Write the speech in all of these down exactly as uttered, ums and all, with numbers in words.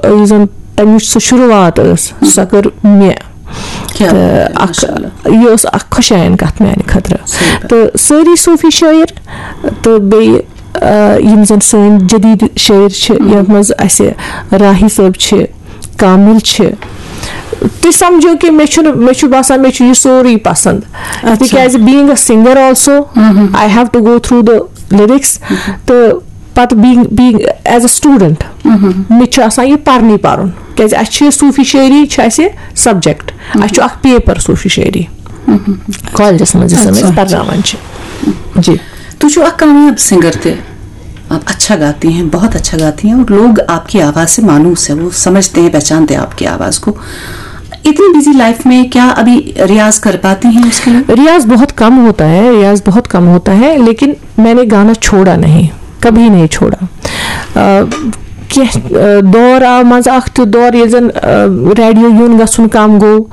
یُس زَن تَمِچ سُہ شروٗعات ٲس، سۄ کٔر مےٚ۔ کیٛاہ تہٕ بات ہے، اَکھ ماشاءاللہ۔ یہِ اوس اَکھ خۄشایَن کَتھ میٛانہِ خٲطرٕ۔ صحیح کَتھ۔ تہٕ سٲری صوٗفی شٲعر تہٕ بیٚیہِ آ، یِم زَن سٲنۍ جدیٖد شٲعر چھِ، یَتھ منٛز اَسہِ راہی صٲب چھِ، کامل چھِ، تُہۍ سَمجھِو کہِ مےٚ چھُنہٕ، مےٚ چھُ باسان مےٚ چھُ یہِ سورُے پَسنٛد۔ اچھا۔ تِکیٛازِ being a singer also, I have to go through the lyrics, تہٕ پَتہٕ being, being as a student, مےٚ چھُ آسان یہِ پَرنُے پَرُن، کیٛازِ اَسہِ چھِ یہِ صوٗفی شٲعری چھِ اَسہِ subject، اَسہِ چھُ اَکھ paper صوٗفی شٲعری کالجَس منٛز یُس زَن أسۍ اچھا۔ پَرناوان چھِ۔ جی۔ تُہۍ چھِو اَکھ کامیاب سِنگر تہِ، آپ اچھا گاتی ہیں، بہت اچھا گاتی ہیں، اور لوگ آپ کی آواز سے مانوس ہے، وہ سمجھتے ہیں، پہچانتے ہیں آپ کی آواز کو۔ اتنی بزی لائف میں کیا ابھی ریاض کر پاتی ہیں اس کے لیے؟ ریاض بہت کم ہوتا ہے، ریاض بہت کم ہوتا ہے، لیکن میں نے گانا چھوڑا نہیں، کبھی نہیں چھوڑا۔ آ، کینٛہہ، آ، دور آو منٛزٕ اَکھ تیُتھ دور ییٚلہِ زَن، آ، ریڈیو یُن گژھُن کَم گوٚو،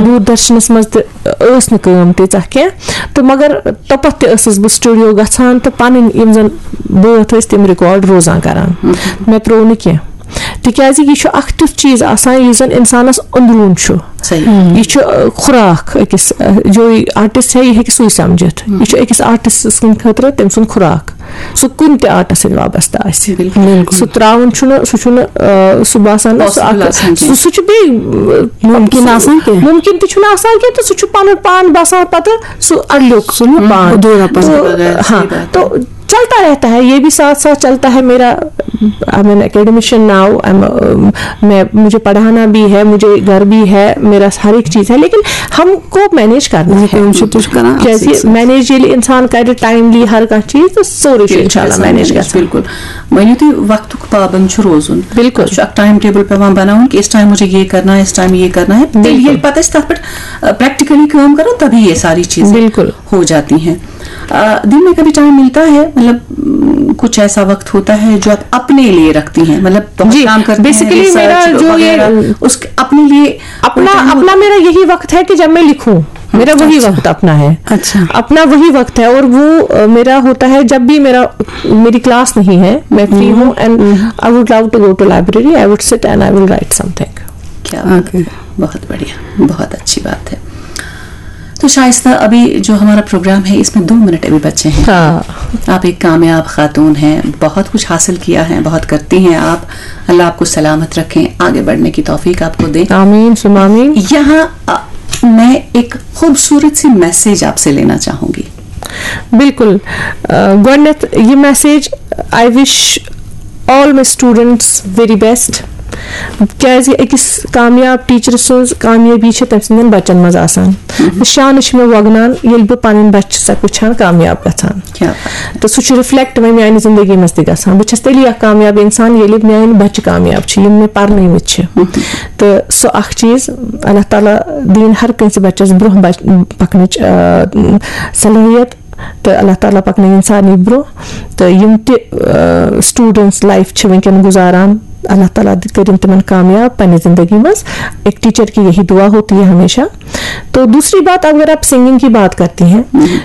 دوٗردَرشَنَس منٛز تہِ ٲس نہٕ کٲم تیٖژاہ کینٛہہ، تہٕ مگر توٚپَتھ تہِ ٲسٕس بہٕ سٹوڈیو گژھان تہٕ پَنٕنۍ یِم زَن بٲتھ ٲسۍ تِم ریکارڈ روزان کَران۔ مےٚ ترٛوو نہٕ کینٛہہ، تِکیٛازِ یہِ چھُ اَکھ تیُتھ چیٖز آسان یُس زَن اِنسانَس أنٛدروٗن چھُ۔ صحیح۔ یہِ چھُ، آ، خوراک أکِس، آ، جو آرٹسٹ ہے، یہِ ہیٚکہِ سُے سَمجھِتھ۔ یہِ چھُ أکِس آرٹسٹ سٕنٛدِ خٲطرٕ تٔمۍ سُنٛد خوراک۔ سُہ کُنہِ تہِ آرٹس سۭتۍ وابستہٕ آسہِ۔ بِلکُل۔ سُہ ترٛاوُن چھُنہٕ، سُہ چھُنہٕ، آ، سُہ باسان نہ، سُہ possible اکھ، آسان کینٛہہ۔ سُہ، سُہ چھُ بیٚیہِ، آ، مُمکِن سُہ آسان کینٛہہ۔ مُمکِن تہِ چھُنہٕ آسان کینٛہہ، تہٕ سُہ چھُ پَنُن پان باسان پَتہٕ سُہ اَڈلیوٚک سُہ پان۔ اَدھوٗرا پان۔ تہٕ، بغٲر، ہاں، صحیح بات۔ تو چلتا رہتا ہے، یہ بھی ساتھ ساتھ چلتا ہے۔ میرا، I'm an academician now, I'm, میں، مجھے پڑھانا بھی ہے، مجھے گھر بھی ہے، میرا ہر ایک چیز ہے، لیکن ہم کو مینیج کرنا ہے۔ کٲم چھِ تُہۍ چھِو کران اَتھ کیٛازِ سۭتۍ سۭتۍ۔ مینیج ییٚلہِ اِنسان کرِ ٹایملی ہر کانٛہہ چیٖز، تہٕ سورُے چھُ اِنشاء اللہ مینیج گژھان۔ بِلکُل۔ مٲنِو تُہۍ، وقتُک پابند چھُ روزُن۔ بِلکُل۔ اَسہِ چھُ اَکھ ٹائم ٹیبل پٮ۪وان بَناوُن کہِ اس ٹائم مجھے یہ کرنا ہے، اس ٹائم یہ کرنا ہے۔ تیٚلہِ بِلکُل۔ ییٚلہِ پَتہٕ أسۍ تَتھ پٮ۪ٹھ، آ، پریکٹیکلی کٲم کَرو، تبھی یہ ساری چیزیں بِلکُل۔ ہو جاتی ہیں۔ آ، دن میں کبھی ٹائم ملتا ہے، مطلب، م، کچھ ایسا وقت ہوتا ہے جو آپ اپنے لیے رکھتی ہیں، مطلب، بہت جی، کام کرتی ہیں، basically ریسرچ میرا جو یہ وغیرہ، اس کے اپنے لیے اپنا، کوئی ٹائم اپنا ہوتا ہے؟ میرا یہی وقت ہے کہ جب میں لکھوں، میرا وہی وقت اپنا ہے۔ اچھا۔ اپنا وہی وقت ہے، اور وہ، آ، میرا ہوتا ہے جب بھی میرا، میری کلاس نہیں ہے، میں فری ہوں، and I would love to go to library, I would sit and I will write something. کیا بات ہے۔ بہت بڑھیا، بہت اچھی بات ہے۔ تو شائستہ، ابھی جو ہمارا پروگرام ہے، اس میں دو منٹ ابھی بچے ہیں۔ ہاں۔ آپ ایک کامیاب خاتون ہیں، بہت کچھ حاصل کیا ہے، بہت کرتی ہیں آپ۔ اللہ آپ کو سلامت رکھیں، آگے بڑھنے کی توفیق آپ کو دیں۔ آمین ثم آمین۔ یہاں، آ، میں ایک خوبصورت سی میسج آپ سے لینا چاہوں گی۔ بِلکُل۔ آ، گۄڈٕنیٚتھ یہِ message, I wish all my students very best. کیٛازِ أکِس کامیاب ٹیٖچرٕ سٕنٛز کامیٲبی چھِ تٔمۍ سٕنٛدٮ۪ن بَچَن منٛز آسان۔ تہٕ شانہٕ چھِ مےٚ وۄگنان، ییٚلہِ بہٕ پَنٕنۍ بَچہِ چھَسَکھ وٕچھان کامیاب گژھان۔ کیا بات ہے۔ تہٕ سُہ چھُ رِفلیکٹ وۄنۍ میٛانہِ زِندگی منٛز تہِ گژھان۔ بہٕ چھَس تیٚلی اَکھ کامیاب اِنسان، ییٚلہِ میٛٲنۍ بَچہِ کامیاب چھِ، یِم مےٚ پَرنٲومٕتۍ چھِ۔ تہٕ سُہ اَکھ چیٖز، اللہ تعالیٰ دِیِن ہر کٲنٛسہِ بَچَس برٛونٛہہ بَچ-، پَکنٕچ، آ، صلٲحیت۔ تہٕ اللہ تعالیٰ پَکنٲیِن سارنٕے برٛونٛہہ۔ تہٕ یِم تہِ، آ، students life چھِ وٕنکیٚن گُزاران، اللہ تعالیٰ تہِ کٔرِن تِمَن کامیاب پنٛنہِ زندگی منٛز۔ ایک ٹیچر کی یہی دعا ہوتی ہے ہمیشہ۔ تو دوسری بات، اگر آپ سنگنگ کی بات کرتی ہیں،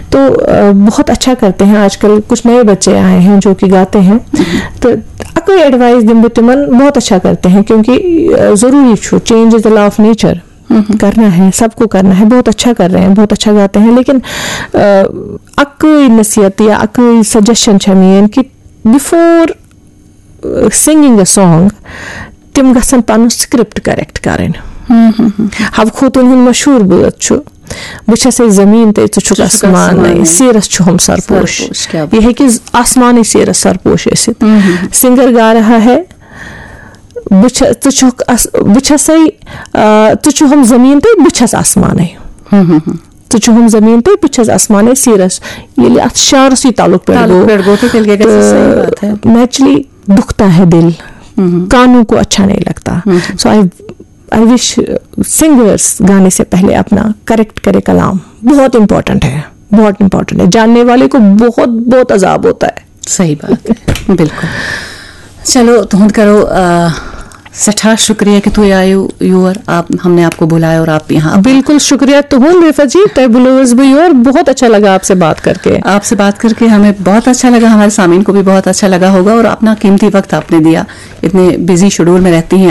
تو، آ، بہت اچھا کرتے ہیں آج کل کچھ نئے بچے آئے ہیں جو کہ گاتے ہیں۔ تو اَکٕے ایڈوائس دِمہٕ بہٕ تِمَن، بہت اچھا کرتے ہیں، کیونکہ، آ، ضروٗری چھُ، change is the law of nature۔ کرنا ہے، سب کو کرنا ہے، بہت اچھا کر رہے ہیں، بہت اچھا گاتے ہیں، لیکن، آ، اَکٕے نصیحت یا اَکٕے سجیشن چھےٚ میٲنۍ کہِ before singing a song، تِم گژھن پنُن script correct کرٕنۍ۔ حب خوتوٗن ہُنٛد مشہوٗر بٲتھ چھُ، "بہٕ چھَسے زٔمیٖن تہٕ ژٕ چھُکھ آسمانٕے، سیٖرَس چھُ ہُم سرپوش۔" سرپوش، کیا بات۔ یہِ ہیٚکہِ آسمانٕے سیٖرَس سرپوش ٲسِتھ۔ سنگر گا رہا ہے، بہٕ چھَ-، ژٕ چھُکھ آس-، بہٕ چھَسے، آ، ژٕ چھُ ہُم زٔمیٖن تہٕ بہٕ چھَس آسمانٕے۔ ژٕ چھُ ہُم زٔمیٖن تہٕ بہٕ چھَس آسمانٕے سیٖرَس۔ ییٚلہِ اَتھ شعرَسٕے تعلق پٮ۪ٹھ تعلق گوٚو، پٮ۪ٹھ گوٚو تہٕ تیٚلہِ کیٛاہ گژھِ؟ صحیح بات ہے۔ تو naturally دُکھتا ہے دِل، کانوں کو اچھا نہیں لگتا۔ So I, I wish singers گانے سے پہلے اپنا کریکٹ کرے کلام، بہت امپورٹنٹ ہے، بہت امپورٹنٹ ہے۔ جاننے والے کو بہت، بہت عذاب ہوتا ہے۔ صحیح بات ہے، بِلکُل۔ چلو، تُہُنٛد کَرو، آ، سٮ۪ٹھاہ شُکریہ کہِ تُہۍ آیِو یور، آپ، ہم نے آپ کو بُلایا اور آپ یہاں۔ بِلکُل شُکریہ تُہُنٛد، رفعت جی، تۄہہِ بُلٲوٕس بہٕ یور، بہت اچھا لگا آپ سے بات کر کے۔ آپ سے بات کرکے ہمیں بہت اچھا لگا، ہمارے سامعین کو بھی بہت اچھا لگا ہوگا، اور اپنا قیمتی وقت آپ نے دیا، اتنے بزی شیڈول میں رہتی ہیں